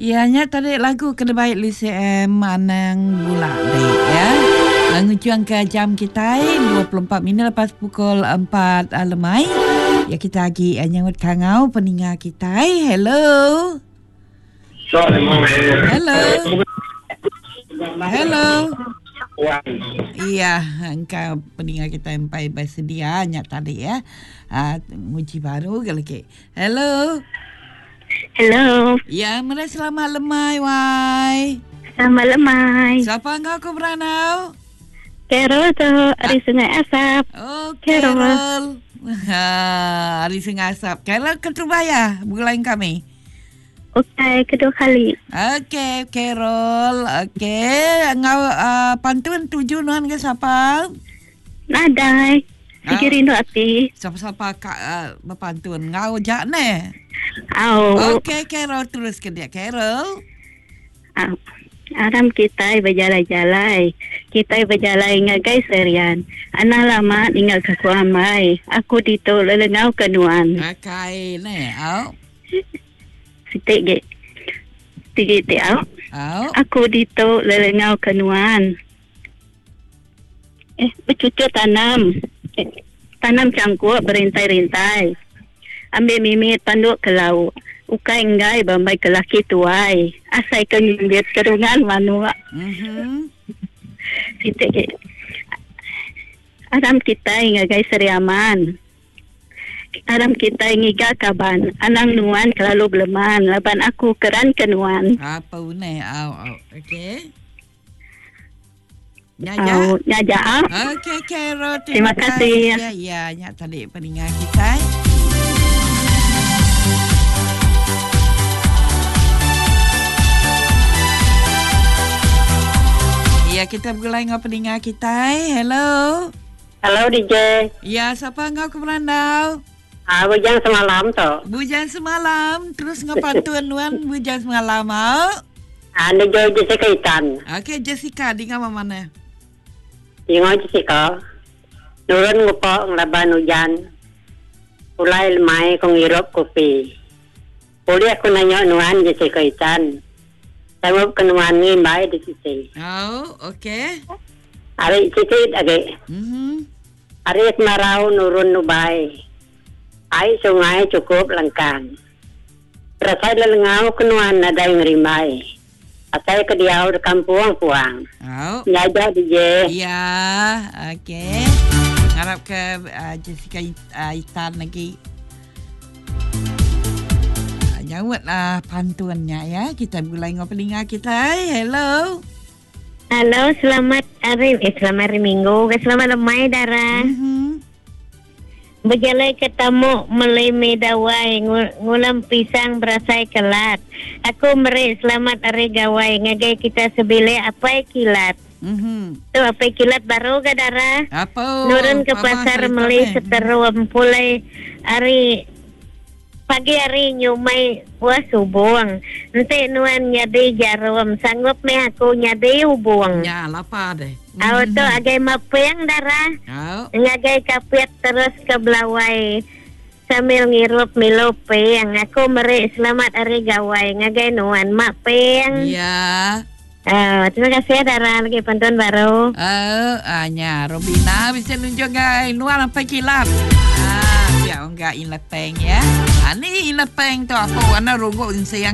Iya nya tadi lagu ke dibai LCM Anang Bula dek ya. Ngujung ke jam kitai 24 minit lepas pukul 4 lemai. Ya kita agi nyaut kangau peninga kitai. Hello. Hello. Hello. Iya, engka peninga kitai empai bersedia nya tadi ya. Nguji baru ke lagi. Hello. Hello. Ya, meri selamat lemai wai. Selamat lemai. Siapa enggau aku beranau? Carol tu ari Sungai Asap. Oh, Carol. Carol. Ha, ari Sungai Asap. Carol keterubah ya begulai kami. Okey, kedua kali. Okey, Carol. Okey, enggau uh, pantun tuju nuan ke siapa? Nadai. Sigi rindu ati. Sapa-sapa ka uh, bepantun ngau ja ne. Au. Okey Carol terus ke dia Carol. Au. Aram kitai bejalai-jalai. Kitai bejalai ngagai Serian. Anang lama ninggal ke ku ambai. Aku ditu lelengau ke nuan. Akai ne. Au. Siti gi. Sigi ti au. Au. Aku ditu lelengau ke nuan. Eh, becucuk tanam. Eh, tanam cangkuk berintai-rintai. Ambil mimit panduk ke lauk. Ukai enggai bambai ke laki tuai. Asai ke ngimbit kerungan manuk. Mm-hmm. Siti agi. Aram kitai ngagai Seri Aman. Aram kitai ngiga kaban. Anang nuan kelalu beleman laban aku keran ke nuan. Apa uneh au au. Okey. Nyaja. Oh, nyaja. Okey, Carol. Terima, terima kasih. Ya, ya, nya tadi peninga kita. Ya, kita bergulai dengan peninga kita. Hello. Hello, DJ. Ya, siapa engkau ke berandau? Ah, bujang semalam tu. Bujang semalam, terus ngau pantun nuan bujang semalam au. Ah, ni jo Jessica Itan. Okey, Jessica dinga mana? Dinga Jessica. Nurun ngupa ngelaban ujan. Pulai lemai ko ngirup kopi. Ulih aku nanya nuan Jessica Itan. Sanggup ke nuan ngimbai di sisi. Au, okey. Ari siti agi. Mhm. Ari kemarau nurun nubai. Ai sungai chukup lengkang. Berasai lelengau ke nuan nadai ngerimbai. Asai ke diau de kampung puang. Au. Nya aja DJ. Ya, okey. Ngarap ke uh, Jessica uh, Itan lagi. Uh, nyaut lah pantun nya ya. Kita begulai enggau peninga kita. Hello. Halo, selamat hari eh selamat hari Minggu ke selamat lemai dara. Mm-hmm. Bejalai ke tamu meli mi dawai ngulam pisang berasai kelat. Aku meri selamat hari gawai ngagai kita sebilik apai kilat. Mm-hmm. Tu apai kilat baru ga dara. Apa? Nurun ke pasar meli seterum pulai hari Pagi hari nyumai buah subung. Enti nuan nyadi jarum sanggup meh aku nyadi ubung. Nya lapa deh. Au tu agai maping darah. Au. Ngagai kapit terus ke Belawai sambil ngirup Milo ping. Aku meri selamat hari gawai ngagai nuan mak ping. Ya. Au terima kasih darah lagi pantun baru. Au ah nya Robina bisi nunjuk gai nuan apai kilat. Ah pia ungga in lepeng ya. Ah ni in lepeng tu aku anak ruguk insing ah.